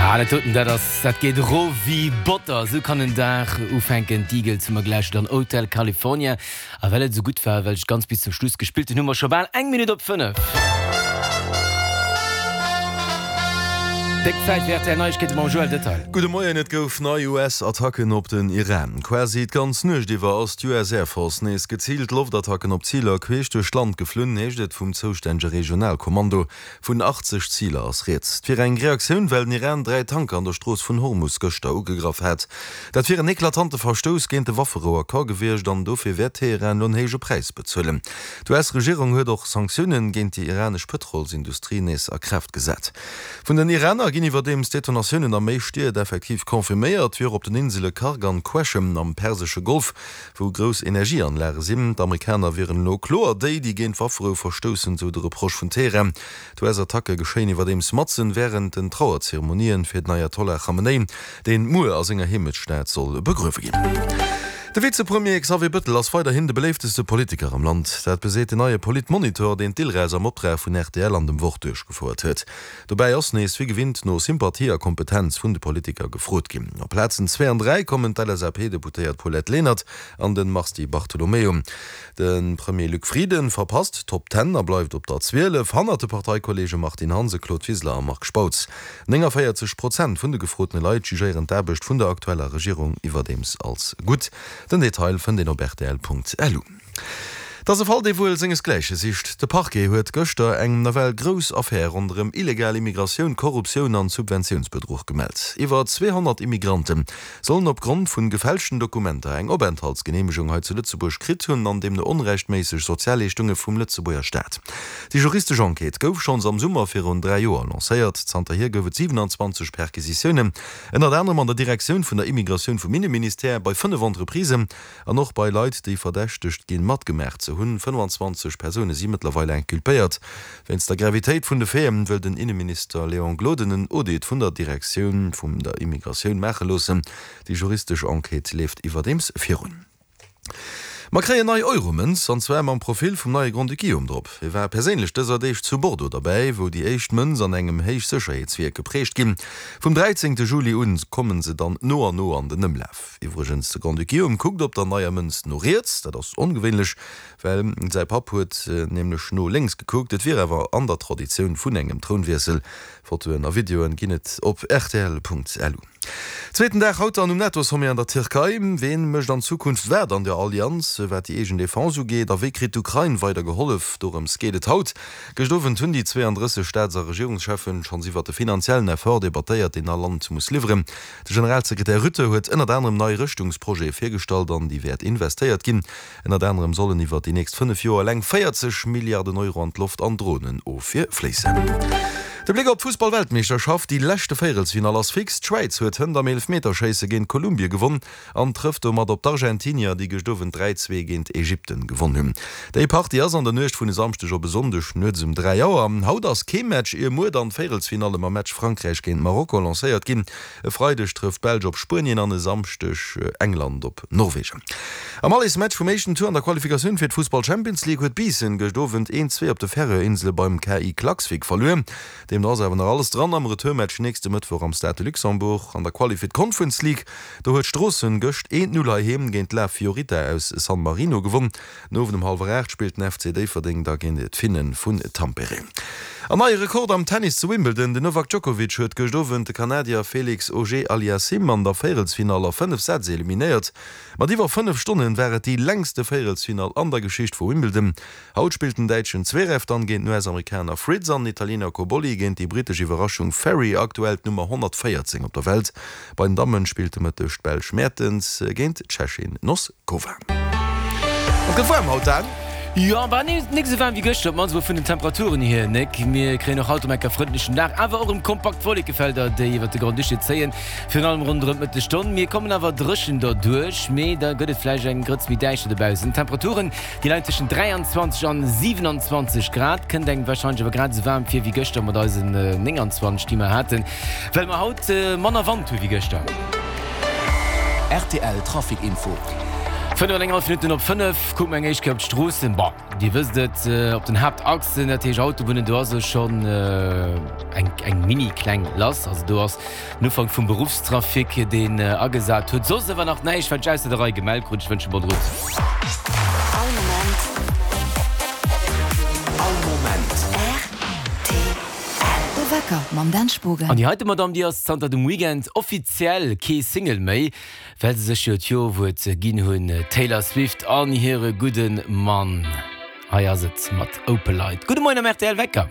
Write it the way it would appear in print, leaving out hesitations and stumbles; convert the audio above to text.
Ja, dat doten, dat ass, dat geet erof wéi Botter. Esou kann en Dag ufänken. D'Eagles hu mer gläich dann Hotel California. A well et esou gutt war, well ech ganz bis zum Schluss gespillt hunn, hu mer scho bal eng Minutt op 5. Déck Zäit fir rtl Neiegkeete mam Joël Detail. Gudde Moien, Et gouf nei US-Attacken op den Iran. Quasi d'ganz Nuecht iwwer ass d'US Air Force nees geziilt Loftattacken op Ziler queesch duerch d'Land geflunn, heescht et vum zoustännege Regionalkommando. Vun 80 Ziler ass rieds. Et wier eng Reaktioun, well den Iran 3 Tanker an der Strooss vun Hormus gëschter ugegraff hat. Dat wier en eklatante Verstouss géint de Wafferou-Accord gewiescht an dofir wäert Teheran elo en héije Präis bezuelen. D'US-Regierung huet och Sanktioune géint déi iranesch Pëtrolsindustrie nees a Kraaft gesat. Vun den Iraner ginn iwwerdeems Detonatiounen a méi Stied effektiv confirméiert, wéi och op den Insele Kharg an Qeshm am persesche Golf. Wou grouss Energieanlage sinn. D'Amerikaner wieren elo kloer déi, déi géint d'Wafferou verstoussen, sou de Reproche vun Teheran. D'US-Attacke geschéien iwwerdeems matzen wärend den Trauerzeremonien fir den Ayatollah Khamenei, deen muer a senger Heemechtsstad soll begruewe ginn. De Vizepremier Xavier Bëttel ass weiderhin de beléifteste Politiker am Land. Dat beseet den neie Politmonitor, deen d'Ilres am Optrag vun rtl an dem Wort duerchgefouert huet. Dobäi ass nees wéi gewinnt no Sympathie a Kompetenz vun de Politiker gefrot ginn. Op Plazen zwee an 3 kommen d'LSAP-Deputéiert Paulette Lenert an de Mars Di Bartolomeo. De Premier Luc Frieden verpasst d'Top Ten a bleift op der 12, hannert de Parteikolleege Martine Hansen, Claude Wiseler a Marc Spautz. 49 Prozent vun de gefrotene Leit jugéieren d'Aarbecht vun der aktueller Regierung iwwerdeems als gutt. Den Detail fënnt een op rtl.lu. Et ass e Fall, dee wuel sengesgläiche sicht. De Parquet huet gëschter eng nawell grouss Affär ronderëm illegal Immigratioun, Korruptioun an Subventiounsbedruch gemellt. Iwwer 200 Immigrante sollen op Grond vun gefälschten Dokumenter eng Openthaltsgeneemegung hei zu Lëtzebuerg kritt hunn an deemno onrechtméisseg Sozialleeschtunge vum Lëtzebuerger Staat. Déi juristesch Enquête gouf schonns am Summer virun 3 Joer lancéiert. Zanterhier gouf et 27 Perquisitiounen, ënnert anerem an der Direktioun vun der Immigratioun vum Inneministère, bei 5 Entreprisen An och bei Leit, déi verdächtegt ginn, matgemaach ze hunn. 25 Persoune si mëttlerweil inculpéiert. Wéinst der Gravitéit vun de Faiten wëll den Inneminister Léon Gloden en Audit vun der Direktioun vum der Immigratioun maache loossen. Déi juristesch Enquête leeft iwwerdeems virun. Mer kréien nei Euromënz, an zwar mam Profil vum neie Grand-Duc Guillaume drop. Hie war perséinlech dëser Deeg zu Bordeaux derbäi, wou déi éischt Mënz an engem Héichsécherheetswierk geprägt ginn. Vum 13 Juli un kommen se dann no an no an den Ëmlaf. Iwwregens, de Grand-Duc Guillaume kuckt op der neier Mënz no riets. Dat ass ongewéinlech, well säi Papp huet nämlech no lénks gekuckt. Et wier awer an der Traditioun vun engem Trounwiessel. Fotoen a Videoen ginn et op rtl.lu. Zweeten Dag haut dann um NATO-Sommet an der Tierkei. Ween mécht an Zukunft wat an der Allianz, wat déi eegen Defense ugeet? A wéi kritt d'Ukrain weider gehollef? Dorëms geet et haut. Gëscht Owend hunn déi 32 Staats a Regierungscheffen schonns iwwert de finanziellen Effort debattéiert, deen all Land muss liwweren. De Generalsekretär Rutte huet ënnert anerem nei Rëschtungsprojete virgestallt, an déi wäert investéiert ginn. Ënnert anerem sollen iwwer déi nächst 5 Joer eleng 40 Milliarden Euro an d'Loft an Dronenofwier fléissen. De Bléck op d'Fussball-Weltmeeschterschaft, Déi leschte Véierelsfinall ass fix. D'Schwäiz huet hënt am Eelefmeterschéisse géint Kolumbie gewonn an trëfft domat op d'Argentinier, déi gëscht Owend 3, 2 géint Ägypten gewonn hunn. Déi Partie ass an der Nuecht vun e Samschdeg op e Sonndeg nuets um 3 Auer. Haut ass kee Match, ier muer dann d'Véierelsfinalle mam Match Frankräich géint Marokko lancéiert ginn. E Freideg trëfft d'Belsch op Spuenien an e Samschdeg England op Norwegen. Am Allesmatch vum éischten Tour an der Qualifikatioun fir d'Fussball-Champions League huet Biissen gëscht Owend 1, 2 op de Färöerinsele beim KI Klaksvik verluer. Deemno ass awer nach alles dran am Retourmatch nächste Mëttwoch am Stade de Luxembourg. An der Quali fir d'Conference League, do huet Stroossen gëscht 1, 0 heiheem géint La Fiorita aus San Marino gewonn. Den Owend um hallwer 8 spillt den FC Déifferdeng da géint d'Finne vun Tampere. An neie Rekord am Tennis zu Wimbledon, Den Novak Djokovic huet gëscht Owend de Kanadier Felix Auger-Aliassime an der Véierelsfinall a 5 Sätz eliminéiert. Mat iwwer 5 Stonnen war et déi längste Véierelsfinall an der Geschicht vu Wimbledon. Haut spillt den Däitschen Zverev dann géint den US-Amerikaner Fritz an den Italiener Cobolli géint déi brittesch Iwwerraschung Ferry, aktuell d'Nummer 114 op der Welt. Bei den Dammen spillt de Mëtteg d'Belsch Mertens géint d'Tschechin Noskova. Et gëtt waarm haut, Dan. Jo, bah nik esou waarm wéi gëschter, op d'mannst mol vun den Temperaturen hier, Nick. Mir kréien och haut erëm enker frëndlechen Dag, awer och erëm kompakt Wollekefelder, déi iwwert de Grand-Duché zéien, virun allem ronderëm d'Mëttesstonn. Mir kommen awer dréchen derduerch, mee da gëtt et vläicht eng Grëtz méi däischter dobaussen. D'Temperaturen, déi leien tëschent 23 an 27 Grad, kënnt engem warscheinlech awer grad esou waarm vir wéi gëschter mat eisen 29, déi mer haten, well mer haut manner Wand hu wéi gëschter. Rtl Trafic Info. 5 an eng hallef Minutten op 5, kucke mer eng éischt Kéier op d'Stroossen. Bon, Dir wësst et, op den Haaptachsen, dat heescht Autobunnen, do ass elo schonn eng eng mini kleng lass. Also do ass den Ufank vum Beruffstrafic, deen agesat huet. Soss awer nach näischt, wat ech ausser der Rei gemellt krut. Ech wënsche bonne route. All Moment. All Moment. Rtl. De Wecker mam Dan Spogen. An déi heite Madame, déi ass zanter dem Weekend offiziell kee Single méi. Well se sech jo d'Jo-Wuert ginn hunn, d'Taylor Swift an hire gudde Mann. Hei ass et mat Opalite. Gudde Moien am rtl Wecker.